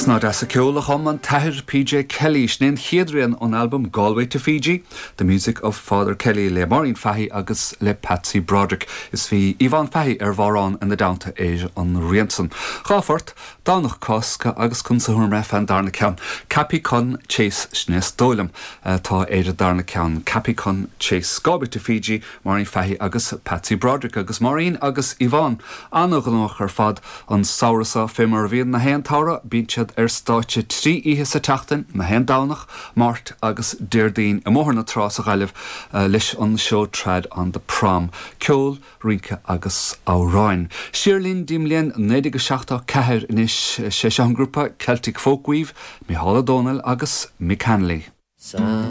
Snáth deas ceoil a chum an tAthair PJ Kelly. Sin é an chéad rian ón albam Galway to Fiji, The Music of Father Kelly le Máirín Fahy agus le Patsy Broderick. Is bhí Yvonne Fahy ar bhodhrán ina dteannta ar an rian san. 2 phort, Domhnach Cásca agus Conas a Thuar Mé fén darna ceann. Cappy Con Chase, sin é is dóigh liom atá ar an darna ceann. Cappy Con Chase. Galway to Fiji, Máirín Fahy agus Patsy Broderick agus Máirín agus Yvonne an-ghnóthach ar fad an samhradh seo. Fé mar a bhíonn na haon tsamhradh, bíonn siad ar stáitse 3 oíche sa tseachtain, na haon Domhnach, Máirt agus Déardaoin i mBóthar na Trá sa Ghaillimh leis an seó Trad on the Prom, ceol, rince agus amhráin. Siar linn dtí'n mbliain 1974 anois, sé seo an grúpa Celtic Folkweave, Mícheál Ó Domhnaill agus Mick Hanley.